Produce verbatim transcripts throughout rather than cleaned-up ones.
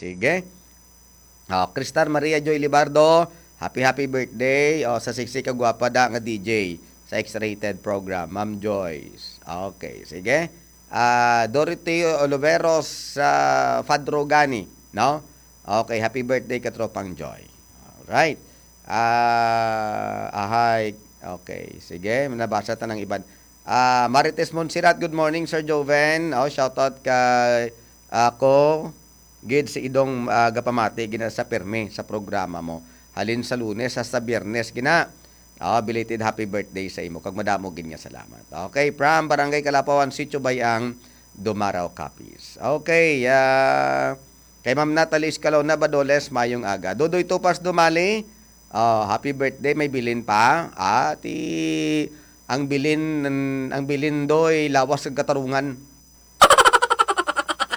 Sige. Oh, Cristar Maria Joy Libardo, happy, happy birthday. Oh, sa sexy ka gwapa da nga D J sa X-rated program, Ma'am Joyce. Okay, sige. Ah, Dorothy Oliveros sa Fadro Gani, no? Okay, happy birthday, Katropang Joy. Alright. Ah, ahay. Okay, sige, nabasa ta ng iban. Ah, Marites Monserrat, good morning, Sir Joven. Oh, shoutout kay ako gid si Idong, ah, gapamati gina sa pirmi sa programa mo. Halin sa Lunes hasta Biyernes gina. Oh, belated happy birthday sa imo. Kag madamo gid nga salamat. Okay, from Barangay Kalapawan, Sitio Bayang, Dumaraw, Capiz. Okay, ah, kay Ma'am Natalie Escalona Badoles, mayong aga. Dodoy Tupas Dumali, oh, happy birthday. May bilin pa. Ah, ti, ang bilin, ang bilin doy, lawas kag katarungan.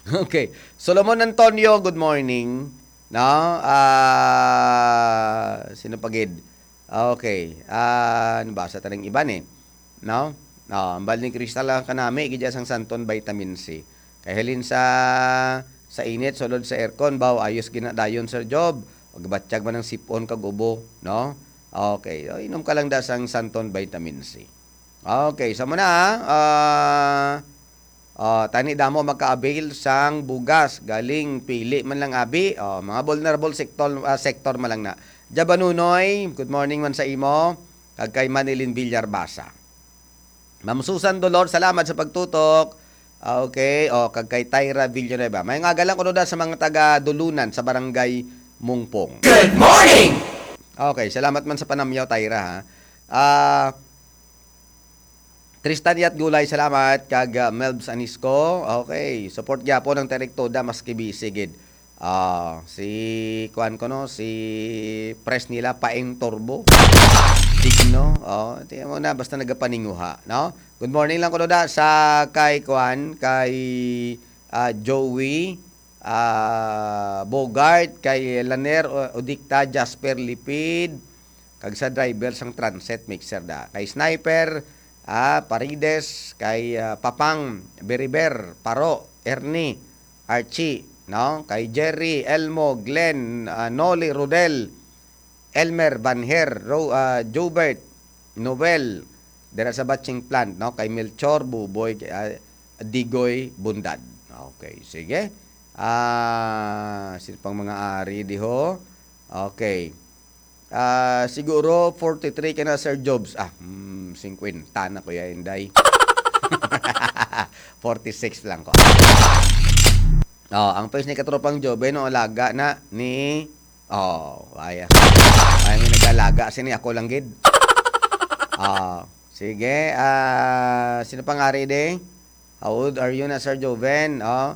Okay. Solomon Antonio, good morning. No? Ah, sino pa gid? Okay. Ah, nabasa ta ng iban eh. No? Ah, ang bal ni Crystal lang kanami, gid sang Santon Vitamin C. Kay halin sa, sa init, sulod sa aircon, baw, ayos gina dayon, Sir Job. Pagbatyag man ang sipon kag ubo, no? Okay. O, inom ka lang da sang Santon Vitamin C. Okay, sa muna, ah, ah, tani damo maka-avail sang bugas, galing pili man lang abi. Oh, mga vulnerable sector, ah, sector man lang na. Jabanunoy, good morning man sa imo. Kag kay Manilin Villar Basa. Ma'am Susan Dolor, salamat sa pagtutok. Ah, okay, oh, kag kay Tyra Villanueva. May nga lang kuno da sa mga taga Dulunan sa barangay Mungpong. Good morning! Okay, salamat man sa panamyaw, Tyra, ha. Ah, Tristan Yat Gulay, salamat. Kag, ah, Melbs Anisco, okay. Support gyapon ang Terek Toda, maski busy gid. Ah, si, kuan ko, no, si press nila, Paeng Turbo. Digno. Oh, tingnan mo na, basta nagapaninguha, no? Good morning lang ko, Doda, sa kay, kuan, kay, ah, Joey, ah, Bogart, kay Laner, O-, Odicta, Jasper Lipid, kag sa driver sang transit mixer da. Kay Sniper, ah, Parides, kay, ah, Papang, Beriber, Paro, Ernie, Archie, no? Kay Jerry, Elmo, Glenn, ah, Noli, Rodel, Elmer, Banher, Ro-, ah, Jobert, Noel, dira sa batching plant, no? Kay Melchor, Buboy, kay, ah, Digoy, Bundad. Okay, sige. Ah, sino pang mga ari diho? Okay. Ah, siguro forty-three ka na, Sir Jobs. Ah, hmm, fifty na ko ya, Inday. Forty-six lang ko. Oh, ang face ni Katropang Joven, no, alaga na ni, oh, ay, ay, may nagalaga sini, ako lang gid. Ah, sige, ah, sino pang ari de? How old are you na, Sir Joven? Oh,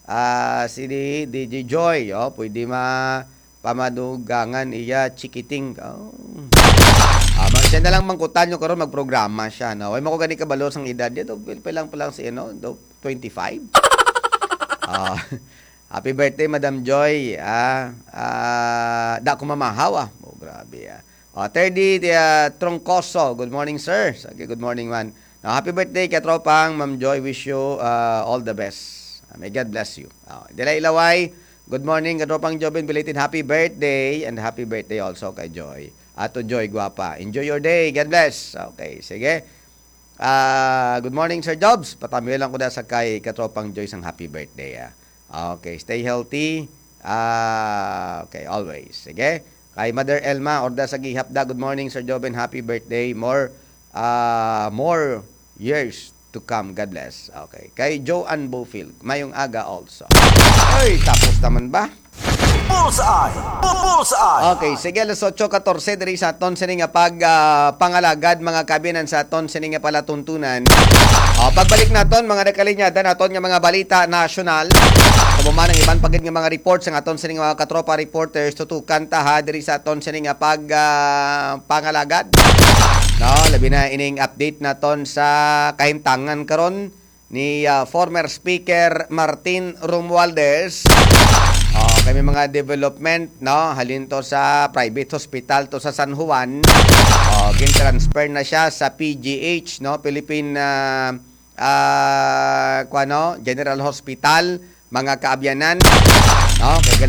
ah, si D J Joy, oh, pwede ma-, pamadugangan iya chikiting. Oh. Ah, ma-, siya na lang mangkutan nyo karon, magprograma siya, no? Way mo ko gani kabalo sang edad niya, do, pil-, pilang pa lang si, ano, do, twenty-five? Ah, happy birthday, Madam Joy. Ah, ah, da ko mamahaw, ah. Oh, grabe, ah. Oh, thirty, ah, Troncoso. Good morning, sir. Okay, good morning, man. Now, happy birthday, Katropang Ma'am Joy. Wish you, ah, all the best. Ah, may God bless you. Oh, Delay Ilaway. Good morning, Katropang Jobin. Belated happy birthday and happy birthday also kay Joy. Ato Joy, guwapa. Enjoy your day. God bless. Okay, sige. Ah, good morning, Sir Jobs. Patamyo lang ko na sa kay Katropang Joy sang happy birthday, ah. Okay, stay healthy. Ah, okay, always. Sige. Kay Mother Elma, Orda sa Gihap da. Good morning, Sir Joven. Happy birthday. More, ah, more years to come. God bless. Okay. Kay Joanne Bofield, mayong aga also. Ay, tapos naman ba? Bullseye! Bu-, Bullseye! Okay, sige, alas otso katorse diri sa aton sini nga pag, ah, pangalagad, mga kabinan sa aton sini nga palatuntunan. Ah, pagbalik naton, mga nakalinyada naton nga mga balita nasyonal. Kamo man ang iban pa gid nga mga report sa aton sini nga mga katropa reporters, tutukan ta ha diri sa aton sini nga pag, ah, pangalagad. No, labi na ining update naton sa kahimtangan karon ni, ah, former Speaker Martin Romualdez. Oh, kay may mga development, no? Halin to sa private hospital to sa San Juan. Oh, gin-transfer na siya sa P G H, no? Philippine, ah, ah, kuwano, General Hospital, mga kaabyanan, no? Kay